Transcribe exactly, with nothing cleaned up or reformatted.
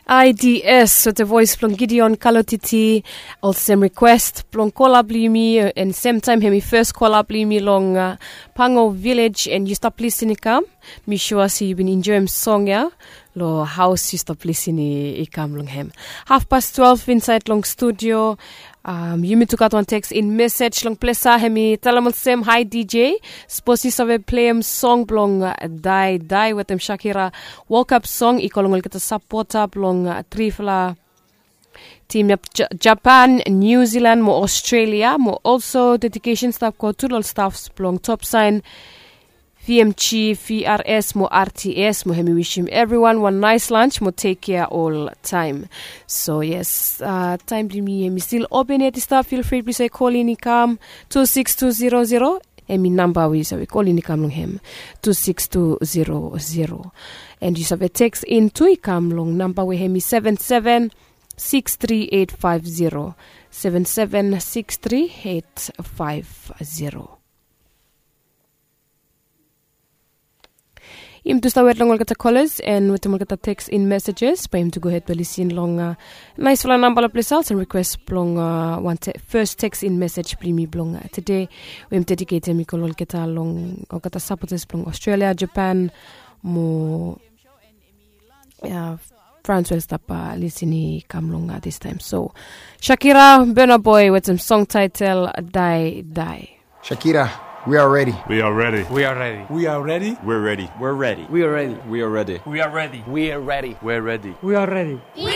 I D S wetem voes blong Gideon Kalotiti. Olsem request blong kola blong yumi, and semtaem hemi fes kola blong yumi long uh, Pango Village, and yu stap lisin i kam. Mi sua se yu bin enjoem song ya. Lo haos yu stap lisin i kam long hem. Half past twelve insaed long studio. Um, yumi tu gat wan teks in mesej long plesa, hemi talem olsem, hi D J, sapos yu save pleim song blong uh, Dai Dai wetem Shakira, World Cup song i go long olgeta sapota blong uh, trifala tim ya, Japan, New Zealand mo Australia, mo also dedication stap go tu long staffs blong Top Sign, V M G, V R S mo R T S, mo hemi wishim evriwan wan naes lunch mo tek kea oltaem. So yes, uh, taem blong yumi hemi stil open yet i stap, feel free blong yu save kolin i kam, two six two zero zero, hemi namba we yu save kolin i kam long hem, two six two zero zero. And yu save teks in tu i kam long namba we hemi seven seven six three eight five zero, seven seven six three eight five zero. Yumi tu stap wet long olgeta kolas and wetem olgeta teks in mesejes, bae yumi tu gohed blong lisin long uh, naesfala namba long plesa, olsem request blong uh, wan fes teks in mesej blong yumi blong uh, tede, we yumi dediketem i go long olgeta, long olgeta sapotas blong Australia, Japan mo uh, France we oli stap uh, lisin i kam long uh, distaem. So Shakira, Burna Boy wetem song taetel Dai Dai. Shakira, we are ready. We are ready. We are ready. We are ready. We're ready. We're ready. We are ready. We are ready. We are ready. We are ready. We are ready. We are ready. We are ready. We